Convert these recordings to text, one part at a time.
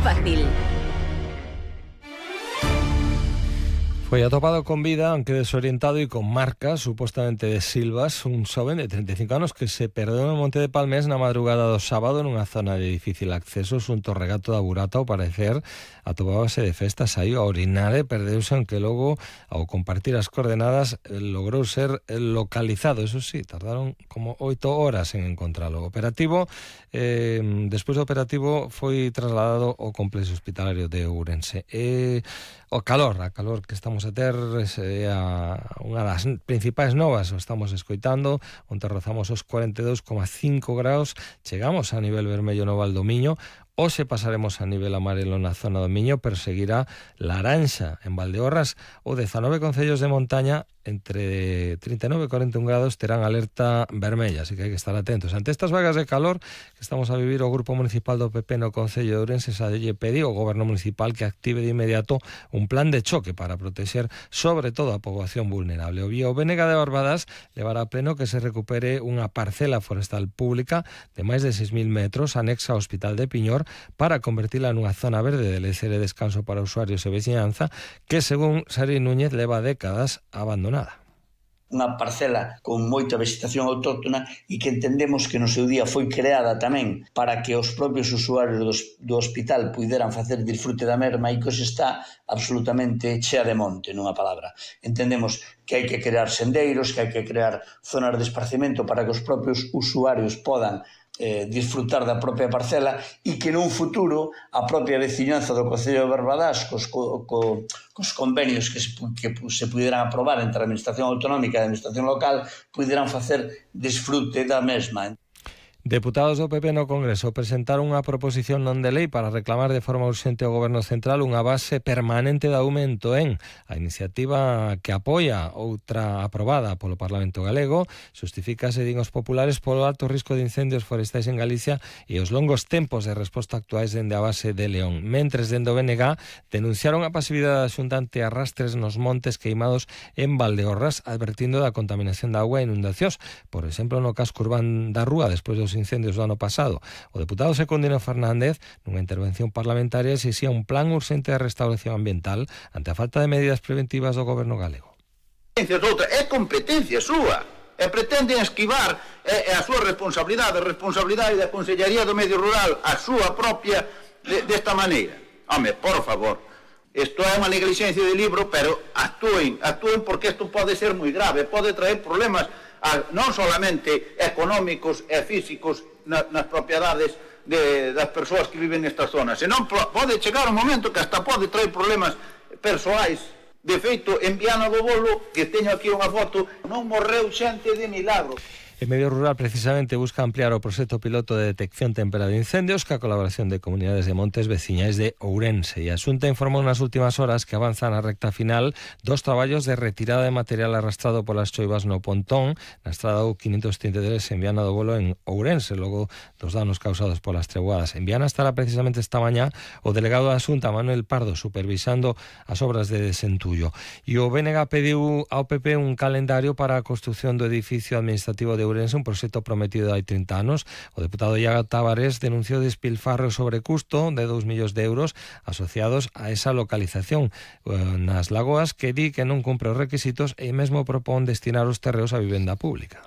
fácil. Foi atopado con vida, aunque desorientado y con marcas, supuestamente de silvas, un xoven de 35 anos que se perdeu no Monte de Palmés na madrugada do sábado nunha zona de difícil acceso xunto ao regato da Burata. Ao parecer, atopábase de festa, saiu a orinar e perdeuse, aunque logo, ao compartir as coordenadas, logrou ser localizado. Eso sí, tardaron como 8 horas en encontralo. Despois do operativo foi trasladado ao complexo hospitalario de Ourense. A calor que estamos a ter é unha das principais novas, o estamos escoitando, onde rozamos os 42,5 graus, chegamos a nivel vermello no Val do Miño. Hoxe pasaremos a nivel amarelo na zona do Miño, pero seguirá laranxa en Valdeorras. O 19 concellos de montaña entre 39 e 41 grados terán alerta vermella, así que hai que estar atentos. Ante estas vagas de calor que estamos a vivir, o Grupo Municipal do PP no Concello de Ourense xa lle pediu ao Goberno Municipal que active de inmediato un plan de choque para protexer sobre todo a poboación vulnerable. O BNG de Barbadas levará a pleno que se recupere unha parcela forestal pública de máis de 6.000 metros anexa ao Hospital de Piñor para convertila nunha zona verde de lecer e descanso para usuarios e veciñanza que, según Sari Núñez, leva décadas abandonada. Unha parcela con moita vegetación autóctona e que entendemos que no seu día foi creada tamén para que os propios usuarios do hospital puideran facer disfrute da merma e que hoxe está absolutamente chea de monte, nunha palabra. Entendemos que hai que crear sendeiros, que hai que crear zonas de esparcimento para que os propios usuarios podan disfrutar da propia parcela e que nun futuro a propia veciñanza do Concello de Barbadas cos convenios que se puderan aprobar entre a Administración Autonómica e a Administración Local puderan facer disfrute da mesma. Deputados do PP no Congreso presentaron unha proposición non de lei para reclamar de forma urxente ao Goberno Central unha base permanente de aumento en a iniciativa que apoia outra aprobada polo Parlamento Galego. Justifícase, din os populares, polo alto risco de incendios forestais en Galicia e os longos tempos de resposta actuais dende a base de León. Mentres, dende o BNG denunciaron a pasividade da Xunta ante arrastres nos montes queimados en Valdeorras, advertindo da contaminación da auga e inundacións, por exemplo, no casco urbán da Rúa, despois dos incendios do ano pasado. O deputado Secundino Fernández, nunha intervención parlamentaria, exixía un plan urxente de restauración ambiental ante a falta de medidas preventivas do goberno galego. É competencia súa, e pretenden esquivar a súa responsabilidade da Consellería do Medio Rural, a súa propia, desta maneira. Home, por favor, isto é unha negligencia de libro, pero actúen porque isto pode ser moi grave, pode traer problemas non solamente económicos e físicos nas propiedades das persoas que viven nestas zonas, senón pode chegar un momento que hasta pode traer problemas persoais. De feito, en Viana do Bolo, que teño aquí unha foto, non morreu xente de milagro. En Medio Rural precisamente busca ampliar o proxecto piloto de detección temprana de incendios ca colaboración de comunidades de montes veciñais de Ourense, e a Xunta informou nas últimas horas que avanza na recta final dos traballos de retirada de material arrastrado polas choivas no Pontón, na estrada U533 en Viana do Bolo en Ourense, logo dos danos causados polas treboadas. En Viana estará precisamente esta mañá o delegado da Xunta, Manuel Pardo, supervisando as obras de desentullo. E o BNG pediu ao PP un calendario para a construción do edificio administrativo de Ourense, un proxecto prometido hai 30 anos. O deputado Iago Tavares denunciou despilfarro sobre custo de 2 millóns de euros asociados a esa localización nas lagoas, que di que non cumpre os requisitos e mesmo propón destinar os terreos a vivenda pública.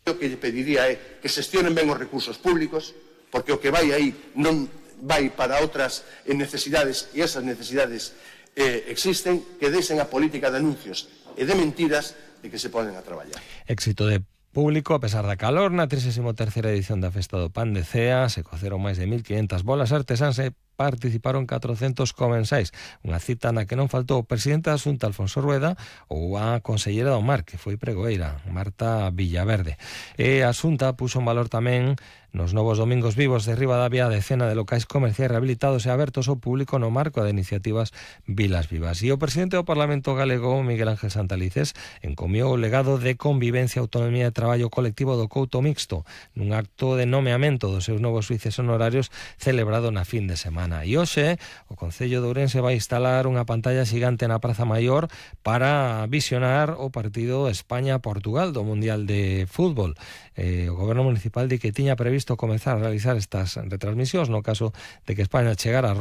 O que lle pediría é que xestionen ben os recursos públicos, porque o que vai aí non vai para outras necesidades, e esas necesidades existen, que deixen a política de anuncios e de mentiras e que se ponen a traballar. Éxito de público, a pesar da calor, na 33ª edición da Festa do Pan de Cea se coceron máis de 1.500 bolas artesáns e participaron 400 comensais, unha cita na que non faltou o presidente da Xunta, Alfonso Rueda, ou a consellera do Mar, que foi pregoeira, Marta Villaverde. E a Xunta puxo en valor tamén nos novos domingos vivos de Ribadavia a decena de locais comerciais rehabilitados e abertos ao público no marco de iniciativas Vilas Vivas. E o presidente do Parlamento galego, Miguel Ángel Santalices, encomiou o legado de convivencia e autonomía de traballo colectivo do Couto Mixto nun acto de nomeamento dos seus novos xuíces honorarios celebrado na fin de semana. E hoxe o Concello de Ourense vai instalar unha pantalla xigante na Praza Maior para visionar o partido España-Portugal do Mundial de Fútbol. O Goberno Municipal di que tiña previsto comezar a realizar estas retransmisións no caso de que España chegara a